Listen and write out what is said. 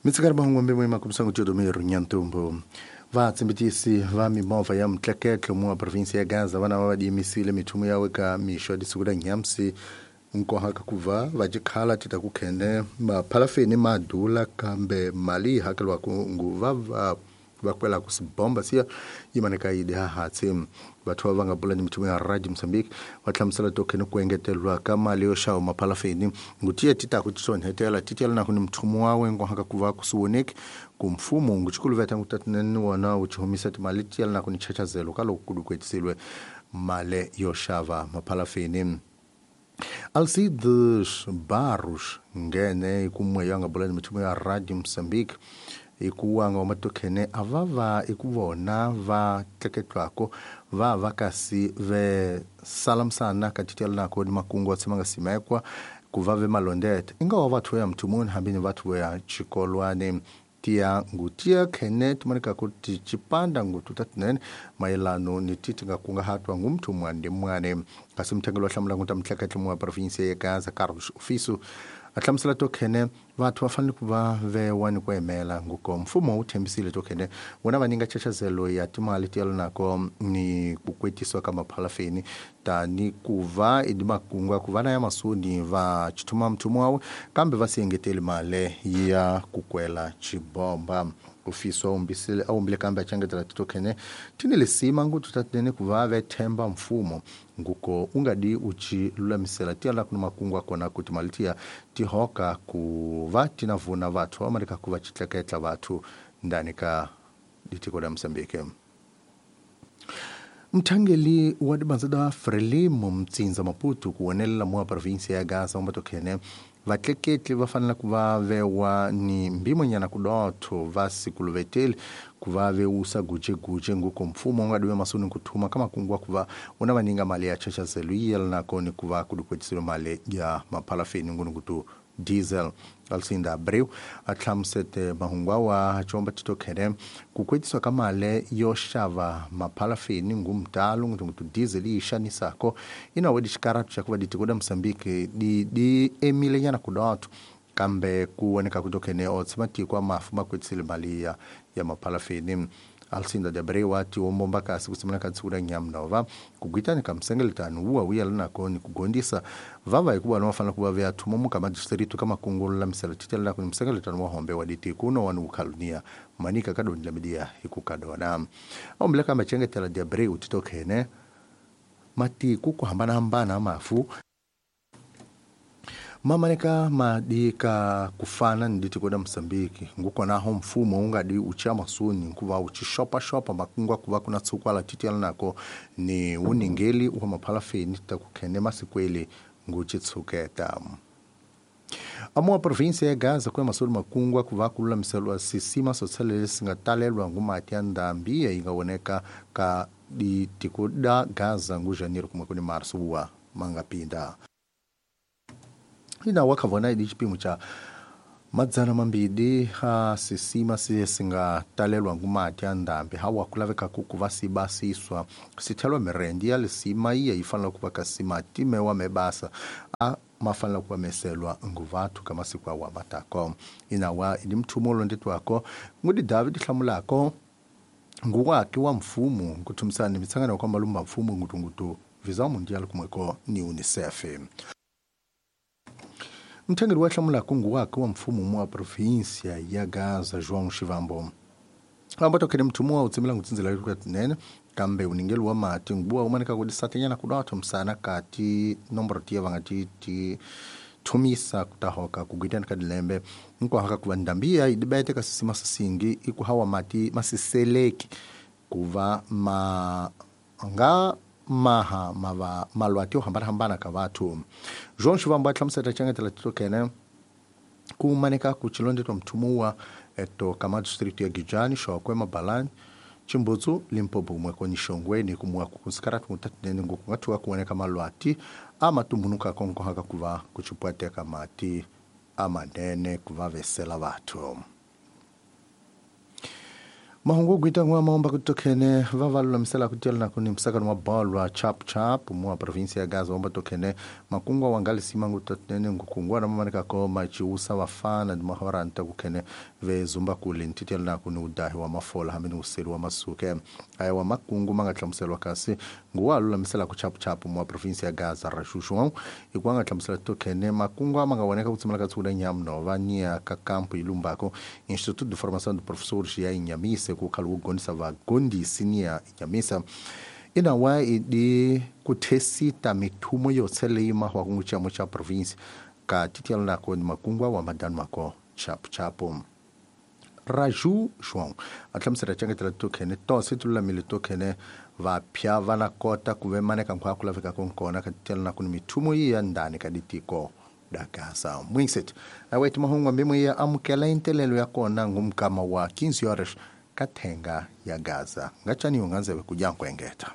Mitsikari mahungu mbe makumsangu Teodomiro Nyantumbo. Vatsimbitisi va mimovha ya mtleketlo mua provinsi ya Gaza vana va diyimisile mithumu yawe ka mixo ya disiku la nyamsi nkohaka kuva vacikhala tita kukhene maphalafeni madula kambe mali yi hakeliwaku nguva va vakwela ku sibomba siya yimaneka yi dihahatsi. Vathu va nga bula ni mithumu ya Radio Mozambique va hlamusela tokhene ku engetelwa ka mali yo xava maphalafeni ngutiye titaku titsonhetela titiyela naku ni muthumu wawe nkohaka kuva kusiwoneki ku mfumo nguchikuluveta ngutatinene wona wu chihumisa timali tiyela naku ni chachazelo ka loko kudukwetisilwe mali yo xava maphalafeni. Alcides Barros ngene kumwe yanga bula ni mithumu ya Radio Mozambique ikuwanga wamatokhene avava ikuvona va tleketlwako va va kasi ve salamsana katitela nako ni makungu wa tshama nga simekwa ku va ve malondete inga wa vathu ya mthumuni hambi ni vathu ya chikolwane tiya ngutia khene tumanika kuti chipanda ngutu tatinene mayelano ni titi nga kungahatwa ngumthu mwande mwane kasi mthengelo wa hlamula nguta mtleketlo mwa provinsi ya Gaza Carlos Ofiso a hlamusela tokhene vathu va fanele ku va vewa ni ku emela nguko mfumo wu thembisile tokhene wona va nyika chachazelo ya timali ti nako ni ku kwetisiwa ka maphalafeni tani ku va i makungu ku va na ya masuni va chithuma mthumu wawe kambe va si engeteli mali ya ku kwela chibomba. Ofiso a umbile kambe a changetela titokhene tini lisima ngutu tatinene ku va ve themba mfumo nguko ungadi uchi lulamisela tiala kuna makungu akona kuti mali tiya tihoka ku va tinavuna vathu amalika ku va chitleketla vathu ndani ka ditiko la Mozambique. Mthangeli wa dibanza da Frelimo Mtsinza Maputo kuonelela mwa provinsi ya Gaza umbatokhene vatleketli va fanele ku va vewa ni mbimonyana kudotho va sikuluveteli ku va vewusa gujeguje nguko mfumo wu nga diwe masuni kuthuma ka makungu wa ku va wona va ninga mali ya chachazelo yi yela nakoni ku va ku dikwetiselo mali ya maphalafeni ngunungutu diesel. Alcinda Abreu a hlamusete mahungu awa chomba titokhene ku kwetiswa ka mali yo xava maphalafeni ngumtalo ngutu diesel yi xanisako inawe dixikaratu xa ku va ditiko da Mozambique di emile nyana kudotho kambe ku voneka ku tokhene o tshama tiko a mafu ma kwetisile mali ya maphalafeni. Alcinda de Abreu ati wombomba kasi kusimana ka tsura nyamnova kugwitani ka msengeletano wuwa wuyela nako ni kugondisa vava hikuva no fanele ku va veya thumo muka madistritu ka makungu lulamisela titelela ku ni msengeletano wa hombe wa ditiko no wani wukhalunia manika ka doni la midia hikukadona ombile ka machengetela de Abreu titokhene matiku ku hambanahambana mafu mamaneka madika kufana ni ditiko da Mozambique nguko naho mfumo ungadi ucha masuni nkuva uchishopa shopa makungwa kuva kuna tsukwala titela nako ni uningeli wa maphalafeni takukhene masikweli nguchitsuketa. Amua provinsi ya Gaza kwa masulu makungwa kuva kululamiselwa sisima sotsalele singatalelwa ngumati ya ndambi ingawoneka ka ditiko da Gaza ngu janeiro kumwe kuni marso wa mangapinda. Ina wakavona idi chipimo cha madzana mambidi ha sisima singatalelwa ngumati ya ndambi hawa kulaveka kuku vasibasiswa sithelwa mirendi ya lisima iya ifanela kuva kasima timewa mebasa a mafanela kuva meselwa nguvathu ka masiku awa matako. Inawa idi mthumo olondetwako ngudi David hlamulako nguwaki wa mfumo nkuthumisana mitsangano kwa malumba mfumo ngutungutu Visa Mundial kumweko ni UNICEF. Mthengeli wa hlamula kungu wake wa mfumo mwa provinsia ya Gaza João Chivambo ambato kene mthumu wa utsimela ngutsinzela kutinene kambe uningeli wa mati nguwa umanika kudisatanyana kudotho msana kati nomboro tiya vangati ti thumisa kutahoka kugwitana ka dilembe nkohaka kuva ndambiya idibete ka sisima sisingi ikuhawa mati masiseleki kuva ma nga maha mava malwati yo hambanahambana ka vathu. João Chivambo a hlamusela changetela titokene ku maneka ku chilondetwa mthumu eto kama district ya Gijani Shokwe Mabalani Chimbutsu Limpopo mweko ni Shongweni kumwa kukusikaratu mutatinene ngukungathuka kuoneka malwati amatumbunuka konkohaka kuva kuchipwateka mati amanene kuva vesela vathu. Mahungu gwita ngwa maomba kutokhene va va lulamisela ku tyela na ku ni msakano wa bolo wa chap chap mu provinsia ya Gaza omba tokhene makungwa wangalisima ngutotinene ngukungwa na mamaneka ko machiusa vafana ndi mahoranta kukhene ve zumba kule ntitela na ku ni udahi wa mafola hambi ni useli wa masuke. Aya wa makungu ma nga hlamuseriwa kasi nguwa lulamisela ku chap chap mu provinsia ya Gaza ra xuxu hikuva nga hlamusela tokhene makungu ma nga voneka ku tshimela ka tsukula nyamunova niya ka kampu ilumbako Instituto de Formação de Professores ya Inhamise ku khala wu gondisa vagondisi niya Inhamisa inawa idi ku thesita mithumo yotse leyi mahwa ku xiamo xa province ka titiela nako ni makungwa wa madani mako chapu chapu. Raju João a hlamusela cengetela tokhene tose ti lulamile tokhene vapya va na kota ku ve maneka nkhwa ku lavekaka nkona ka titiela nako ni mithumo yi ya ndani ka ditiko da Gaza. Mwinset aweti mahungu ambimo ya amukela intelelo ya kona ngumkama wa 15 horas ka thenga ya Gaza. Ngachani unganzeve kujankwengeta.